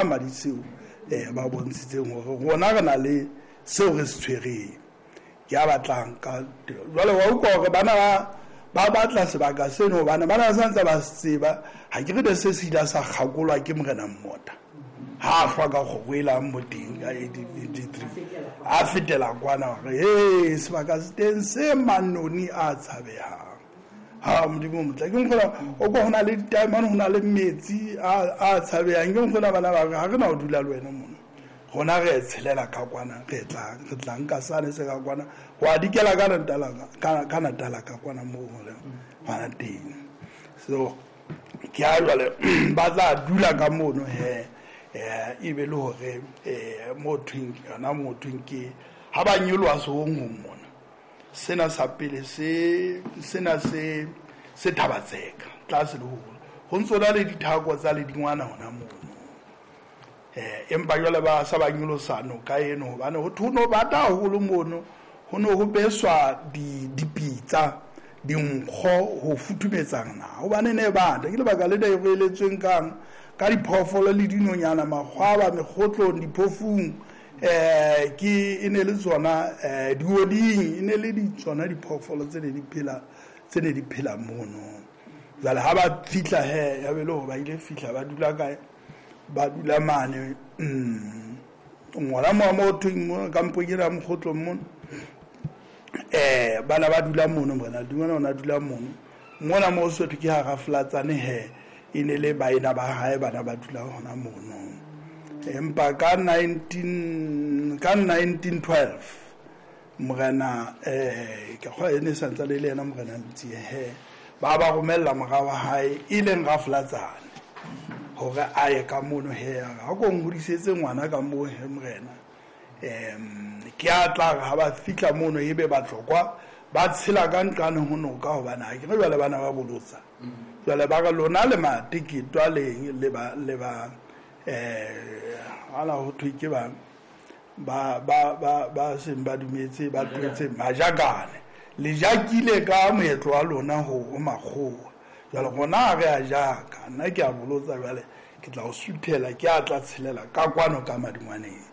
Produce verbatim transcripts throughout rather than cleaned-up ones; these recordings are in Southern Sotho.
Madiseo eh ba bontshitseng hore rona re na le seo re se tshwereng. Ke a batlang ka jwale wa utlwa hore bana ba ba batla sebaka seno hobane bana ba santse ba se tseba. Ha ke re ne se se ile sa kgakolwa ke morena Mmota ha a hlwa ka kgoro e lang mo teng ka eighteen eighty-three a fetela kwana hore he sebaka se teng se manoni a tshabehang. Ha Modimo motle ke nkgola o ko hona le ditaemane, ho na le metsi a a tshabehang. Ke nkgola bana ba re ha re na ho dula le wena mona, rona re tshelela ka kwana, re tla re tla nka sane se ka kwana ho a dikela ka Natala ka ka Natala ka kwana moo hore hona teng. So ke a jwale ba tla dula ka mono he eh e be le hore eh mo thweng yona mo thweng ke ha ba nyoloha sehong mona. Sena sa pele se sena se se Thabatseka tlase le holo ho ntso na le dithako tsa le dingwana hona mono. Eh empa jwale ba sa ba nyolosa noka eno hobane ho thono bata haholo mono, ho no ho beswa di dipitsa dinkgo ho futhumetsang na hobane ne bata ke lebaka le le re eletsweng kang ka diphoofolo le dinonyana makgwaba mekgotlong diphofung eh ke e ne le tsona eh dioding e ne le di tsona diphoofolo tse ne di phela tse ne di phela mono. Jwale ha ba fihla he ya be le hore ba ile fihla ba dula kae, ba dula mane mm ngwana mo mo thweng mo kampong ena mokgotlong mono eh bana ba dula mono bona dingwana ona dula mono mona mo Sotho ke ha Raflatsane he e ne le baena ba hae bana ba dula hona mono. Empa ka nineteen ka nineteen twelve morena eh ke kgwa e ne santse le yena morena Ntsie he ba ba romella mora wa hae e leng Raflatsane hore a ye ka mono he ha ko ngodisetse ngwana ka moo he morena. Em ke a tla ha ba fihla mono ebe ba tlokwa ba tshela ka nqane ho noka hobane ha ke re jwale bana ba bolotsa. Jwale ba re lona le mateketwa leng le ba le ba eh ala ho thwe ke ba ba ba ba ba seng ba dumetse ba tlwetse majakane le jakile ka moetlo wa lona ho makgowa. Jwale rona re a jaka nna ke a bolotsa jwale ke tla o suthela ke a tla tshelela ka kwano ka madingwaneng.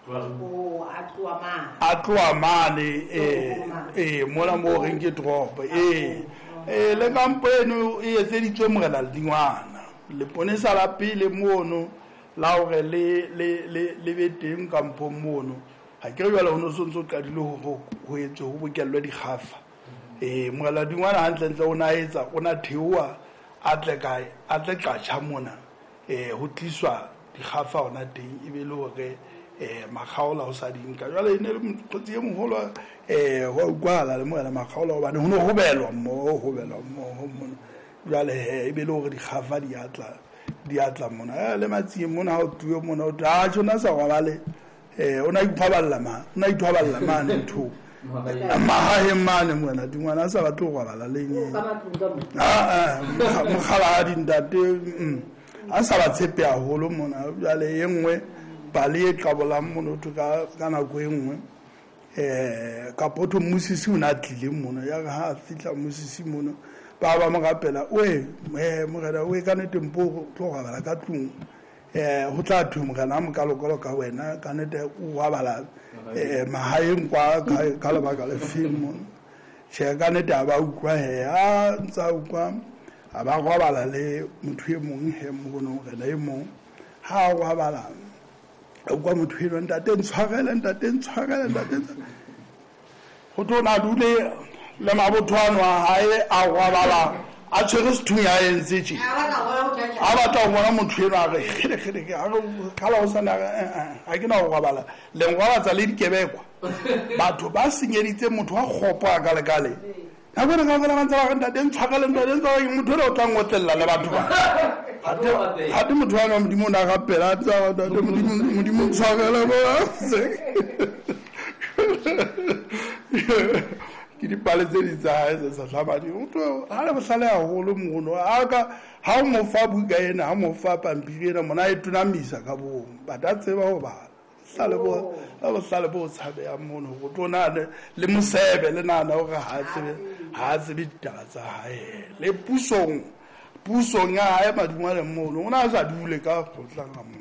O a tloha mane a tloha mane eh eh mona mo reng ke toropo eh eh le kampo eno e etseditswe morena Ledingwana leponesa la pele mono la hore le le le le be teng kampong mono. Ha ke re jwale ho no sontso qadile ho ho etswe ho bokellwe dikgafa. Eh morena Ledingwana hantle ntle o na etsa o na theoha a tle kae a tle Qacha mona eh ho tliswa dikgafa hona teng e be le hore eh makgaola ho sa dinka. Jwale e ne le mokgotsi e moholo eh wa utlwahala le morena makgaola hobane ho no hobelwa mmoho hobelwa mmoho mona. Jwale he e be le hore dikgafa di atla di atla mona le matsing mona ha o tuwe mona o tla tjona sa robale eh o na ithwaballa ma o na ithwaballa mane ntho mahaheng mane mona dingwana sa batle ho robala le eng ah ah mokgala ha dintate a sa ba tshepe haholo mona. Jwale e nngwe pale e qabolang mono thwe ka ka nako e nngwe eh kapo thwe mmusisi o na tlile mona ya ha a fihla mmusisi mono ba ba mo rapela oe eh morena oe ka nnete mpo tlo robala ka tlung eh ho tla thwe morena a mokalokolo ka wena ka nnete o robala eh mahaeng kwa ka lebaka le feng mono. Tjhe ka nnete ha ba utlwa he a ntsa utlwa a ba robala le motho e mong he mono morena e mong ha a robala a utlwa motho eno ntate ntshwarele ntate ntshwarele ntate ho tlo na dule le mabotho ano a hae a robala a tshwere sethunya a entse tje a batla ho bona motho eno a re kgele kgele ke a re khala ho sana ha ke na ho robala le nrobatsa le dikebekwa batho ba senyeditse motho wa kgopo a ka lekale nako ena kaofela ba ntse ba re ntate ntshwarele ntate ntshwarele motho eno o tla ngotlella le batho ba hate motho wa Modimo o na rapela a tsa ntate Modimo Modimo ntshwarele bo ke dipale tse di tsa hae tse sa hlabadi. Motho ha le bohlale haholo mono a ka ha o mo fa buka ena ha mo fa pampiri ena mona e tonamisa ka bong ba ta tseba ho bala bohlale bo bohlale bo tshabehang mono ho tlo na le mosebe le nahana hore ha tsebe ha tsebe ditaba tsa hae le pusong Pusong ya hae madungwane mono o ne a sa dule ka kgotla ka moo.